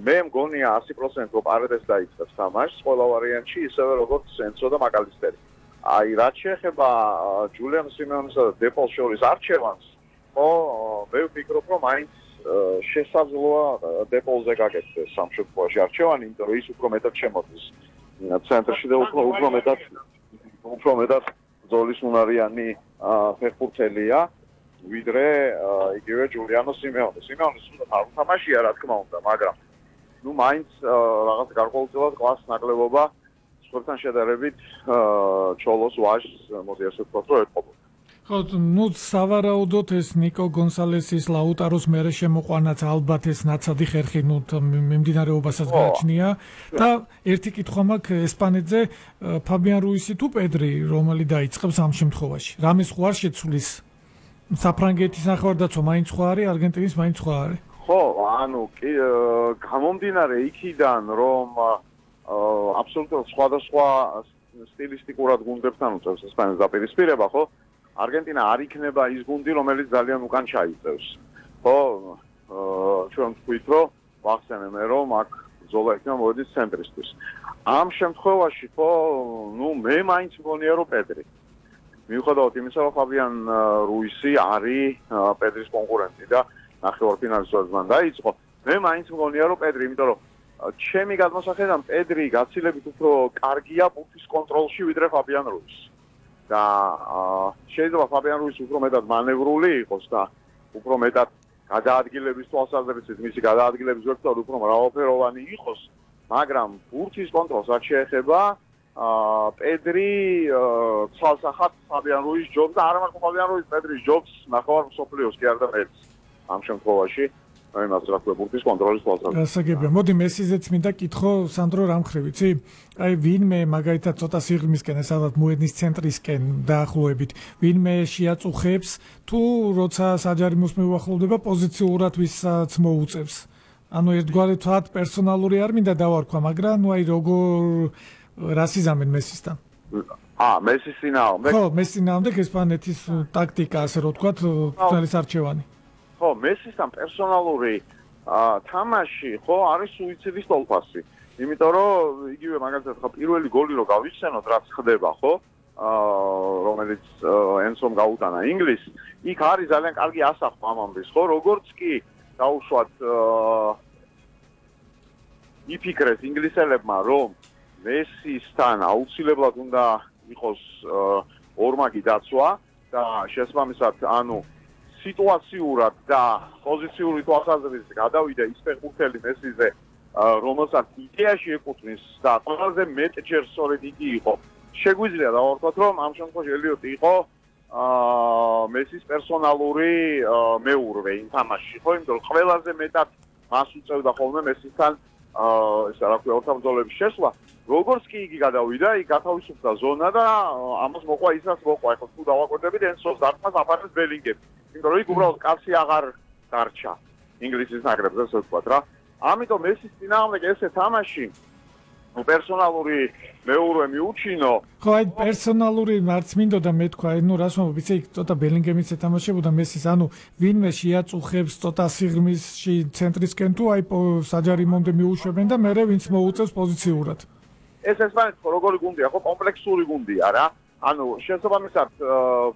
მე მგონია 100% რომ პარედეს დაიწყებს თამაშს ყველა ვარიანტში, ისევე როგორც ენცო და მაკალისტერი. აი, რაც შეეხება ჯულიან სიმეონესა და დეპოლს შორის არჩევანს, მე ვფიქრობ, რომ მაინც შესაძლოა დეპოლზე გაკეთდეს ამ შემთხვევაში არჩევანი, იმიტომ რომ ის უფრო მეტად შემოდის ცენტრში და უფრო მეტად ბრძოლის უნარიანი ფეხბურთელია, ვიდრე იგივე ჯულიანო სიმეონე. სიმეონეს უნდა არ უთამაშია, რა თქმა უნდა, მაგრამ მაინც რაღაც გარკვეულწილად კლასს ნაკლებობა სხვებთან შედარებით ჩოლოს ვაჟს მოდი ასე ვთქვათ, რომ ეტყობოდა. ხო, სავარაუდოდ ეს ნიკო გონსალესის ლაუტაროს მერე შემოყვანაც ალბათ ეს ნაცადი ხერხი მიმდინარეობასაც გააჩნია და ერთი კითხვა მაქვს ესპანეთზე ფაბიან რუისი თუ პედრი რომელი დაიწყებს ამ შემთხვევაში. რამეს ხო არ შეცვლის საფრანგეთის ნახევარდაცვა მაინც ხო არის, არგენტინის მაინც ხო არის? ხო, გამომდინარე იქიდან რომ აბსოლუტურად სხვადასხვა სტილისტიკურად გუნდებთან უწევს ესპანეთს დაპირისპირება, ხო? არგენტინა არ იქნება ის გუნდი, რომელიც ძალიან უკან ჩაიწევს. ხო, ჩვენ ვთქვით, რომ ვახსენე მე, რომ აქ ბრძოლა იქნება მოედის ცენტრისტის. ამ შემთხვევაში, ხო, მე მაინც მგონია, რომ პედრი. მიუხედავად იმისა, რომ ფაბიან რუისი არის პედრის კონკურენტი და ნახევარფინალისტად მან დაიწყო, მე მაინც მგონია, რომ პედრი, იმიტომ რომ ჩემი გადმოსახედიდან პედრი გაცილებით უფრო კარგია ბურთის კონტროლში, ვიდრე ფაბიან რუისი. და შეიძლება ფაბიან რუისი უფრო მეტად მანევრული იყოს და უფრო მეტად გადაადგილების თვალსაზრისით მისი გადაადგილების ვექტორი უფრო მრავალფეროვანი იყოს, მაგრამ ბურთის კონტროლს რაც შეეხება პედრი ცალსახად ფაბიან რუისს ჯობს და არა მარტო ფაბიან რუისს, პედრის ჯობს ნახევარ მსოფლიოს კი არა და მეც ამ შემთხვევაში იმას რა ქვია ბურთის კონტროლის თვალსაზრისით. გასაგებია. მოდი მესიზეც მინდა კითხო სანდრო რამხრივ, იცი? აი ვინმე მაგალითად ცოტა სიღრმისკენ ესავად მოედნის ცენტრისკენ დაახლოებით, ვინმე შეაწუხებს თუ როცა საჯარიმოს მეუახლოვდება პოზიციურად ვისაც მოუწევს. ანუ ერთგვარი თვათ პერსონალური არ მინდა დავარქვა, მაგრამ ნუ აი როგორ რასიზამენ მესისთან? მესის წინააღმდეგ? ხო, მესის წინააღმდეგ ესპანეთის ტაქტიკა, ასე რომ ვთქვათ, თვალის არჩევანი. ხო, მესისთან პერსონალური თამაში, ხო, არის სუიციდის ტოლფასი. იმიტომ რომ იგივე მაგალითად ხო პირველი გოლი რო გავიხსენოთ, რაც ხდება, ხო? რომელიც ენსომ გაუტანა ინგლისს, იქ არის ძალიან კარგი ასახვა ამ ამბის, ხო? როგორც კი დაუშვათ იფიქრეს ინგლისელებმა, რომ მესისთან აუცილებლად უნდა იყოს ორმაგი დაცვა და შესაბამისად, სიტუაციურად და პოზიციური თვალსაზრისით გადავიდა ის ფეხბურთელი მესიზე, რომელსაც იდეაში ეკუთვნის და ყველაზე მეტჯერ სწორედ იგი იყო. შეგვიძლია დავარქვათ, რომ ამ შემთხვევაში ელიოტი იყო მესის პერსონალური მეურვე იმ თამაშში, ხო, იმიტომ რომ ყველაზე მეტად მას უწევდა ხოლმე მესისთან ესა რა ქვია ორთაბრძოლების შესვლა. როგორც კი იგი გადავიდა, იქ გათავისუფლდა ზონა და ამას მოყვა ისაც მოყვა. ეხლა თუ დავაკვირდებით ენსოს დარტყმას აფარებს ბელინგემი. იმიტომ რომ იქ უბრალოდ კაცი აღარ დარჩა ინგლისის ნაკრებზე, ასე ვთქვათ რა. ამიტომ მესის წინააღმდეგ ესე თამაში პერსონალური მეურვე მიუჩინო. ხო, აი პერსონალური მარც მინდოდა მე თქვა, რას მომბ, იცი ცოტა ბელინგემიც ეთამაშებოდა მესის, ვინმე შეაწუხებს ცოტა სიღრმისში ცენტრისკენ თუ აი საჯარიმომდე მიუშვებენ და მერე ვინც მოუწევს პოზიციურად. ეს ესპანეთის როგორი გუნდია, ხო, კომპლექსური გუნდია რა. შესაბამისად,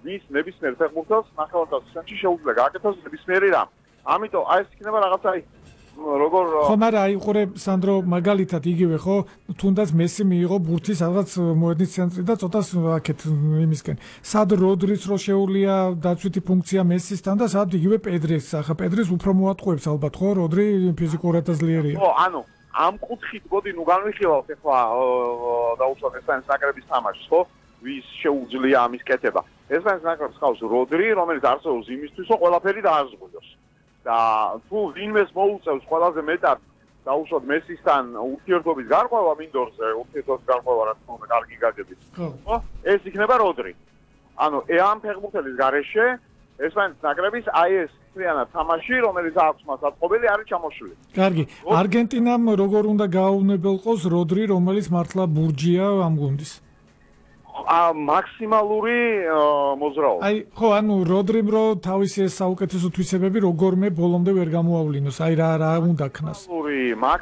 ვის ნებისმიერ ფეხბურთელს ნახევარდაცვაში შეუძლია გააკეთოს ნებისმიერი რამ. ამიტომ აი ეს იქნება რაღაცა როგორ ხო, მაგრამ აი უყურე სანდრო მაგალითად იგივე ხო, თუნდაც მესი მიიღო ბურთის რაღაც მოედნის ცენტრი და ცოტას აქეთ იმისკენ. სად როდრის რო შეუულია დაცვითი ფუნქცია მესისთან და სად იგივე პედრის, ახლა პედრის უფრო მოატყუებს ალბათ ხო, როდრი ფიზიკურად ძლიერია. ხო, ამ კუთხით მოდი განვიხილავთ ახლა დაუშვათ ესპანეთის ნაკრების თამაშს, ხო? ვის შეუძლია ამის კეთება. ესპანეთის ნაკრებს ხავს როდრი, რომელიც არსებობს იმისთვის, რომ ყველაფერი დააზღვიოს. და თუ ვინმეს მოუწევს ყველაზე მეტად დაუშვათ მესისთან ურთიერთობის გარღვევა მინდორზე, ურთიერთობის გარღვევა რა თქმა უნდა კარგი გაგებით. ხო, ეს იქნება როდრი. ამ ფეხბურთელის გარეშე ესპანეთის ნაკრების აი ეს მთლიანად თამაში, რომელიც აქვს მას აწყობილი, არის ჩამოშლილი. კარგი. არგენტინამ როგორ უნდა გააუნებელყოს როდრი, რომელიც მართლა ბურჯია ამ გუნდის? მაქსიმალური მოძრაობა. აი, ხო, როდრიმ რო თავისი ეს საუკეთესო თვისებები როგორმე ბოლომდე ვერ გამოავლინოს. აი რა უნდა ქნას.